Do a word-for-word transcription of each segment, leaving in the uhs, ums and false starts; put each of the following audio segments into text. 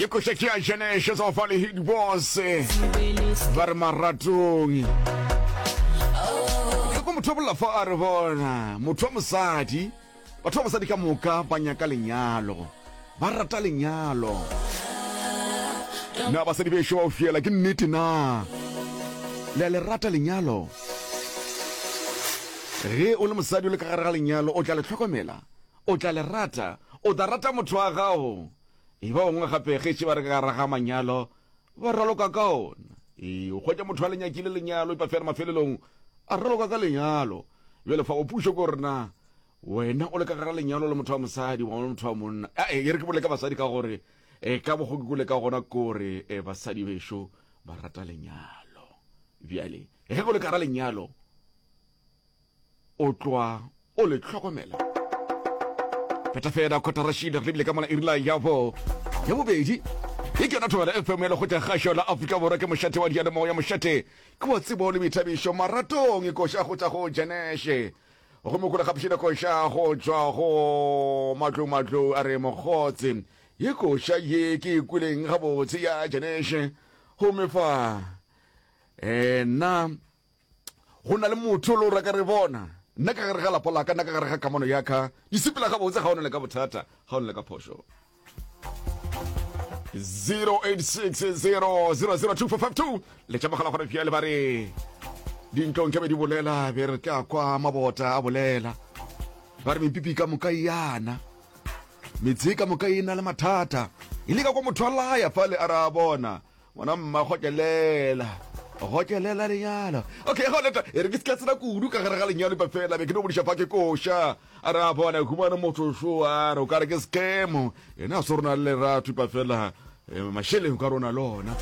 Ye koša ke ya Genesis of le Hit Boss. Ba re maratong. Ke ko motho bolla fa a re bona motho wa mosadi batho ba basadi ka moka ba nyaka lenyalo ba rata lenyalo na basadi bešo ba o fiela ke nnete na le a le rata lenyalo ge o le mosadi o le ka gare ga lenyalo o tla le hlokomela o tla le rata o tla rata motho wa gago e ba bangwe gape ge tše ba re ka gare ga manyalo ba raloka ka ona ee o hwetša motho a le nyakile lenyalo epa fela mafelelong a raloka ka lenyalo bjale fa o pušo ko rena wena o le ka gare ga lenyalo le motho wa mosadi wa le motho wa monna e re ke bole ka basadi ka gore e ka bokgo ke kole ka gona kore e basadi bešo ba rata lenyalo bjale ge go le ka gara lenyalo o tloa o le hlokomela feta fela kgotarashile re lebile ka mola irila ya bo ya bobedi ye ke yona thobela fm ya lekgotla kgašo la afrika borwa ke mošate wa diyalemoya mošate ke wa tsebo le boithabišo maratong e koša go tša go jeneshe gomme kole gapišile koša go tšwa go matlong matlong a re mokgotse ye koša ye ke e kweleng gabotse ya jeneshe gomme fa um nna go na le motho le o reka re bona nna ka gare ga lapa la ka nna ka gare ga kamano ya ka di sepela gabotse ga o na le ka bothata ga o na le ka phošo zero eight six zero zero zero two four five two letša mogala gore bjale ba re dintlong ke be di bolela be re tla kwa mabota a bolela ba re mepipi ka moka e yana metse ka moka e na le mathata e le ka kwa motho a laya fale a re a bona ngwana mma gokelela gokelela lenyalo okay go leta e re ke se tsena kudu ka gare ga lenyalo pa fela be ke no bodiša fa ke koša a re a bona humana motho šo a re o ka re ke scam yena a se rona le lerato pa fela eh, mašeleng ka rona lona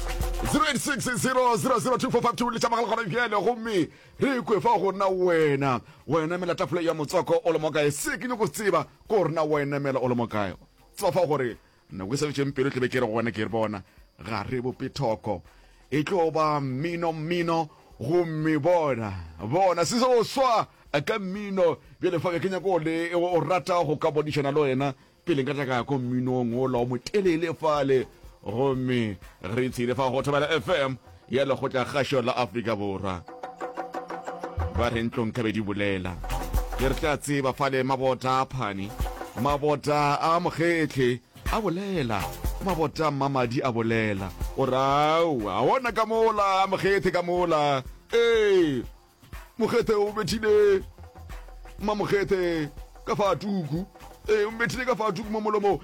zero eight six zero zero zero two four five two letša mogala gona bjale gomme re kwe fa go nna wena wena mela tafole ya motswako o le mo kae se ke nyako tseba ko rena wena mela o le mo kae tseba fa gore nako e sa fetšeng pelo tlebe ke re go wena ke re bona ga re bope thoko e tlo ba mmino mmino gomme bona bona se o swa ka mmino bjale fa ke nyako le o rata go ka bodišana le wena pele nka tla ka ya ko mminong ola o motelele fale gomme re tshile fa go thobela fm ya lekgotla kgašo la afrika borwa ba re ntlong ka be di bolela ke re tla tseba fale mabota a phane mabota a mokgetlhe a bolela mabota a mmamadi a bolela o rao a ona ka mola mokgethe ka mola ee mokgethe o bethile mmamokgethe ka fa tuku ee o mbethile ka fa tuku mo molomong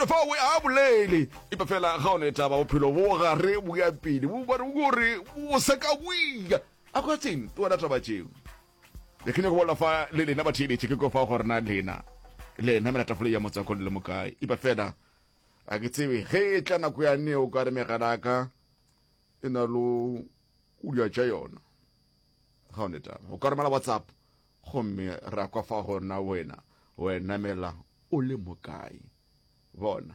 fa o a bolele epa fela ga o ne taba bophelo bo gare bo ya pele bo bare gore bo seka boia a kwa tseng ke wena taba tšeo le ke nyako bolela fa le lena batheeletše ke ko fa gore na lena lena mela tafole ya motswako le le mokae epa fela a ke tsebe ge e tla nako ya neo ka re megala ka e na lo o dia tša yona ga o ne taba o ka romela whatsapp gomme ra kwa fa gore na wena wena mela o le mokae bona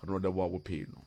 re no leboga bophelo.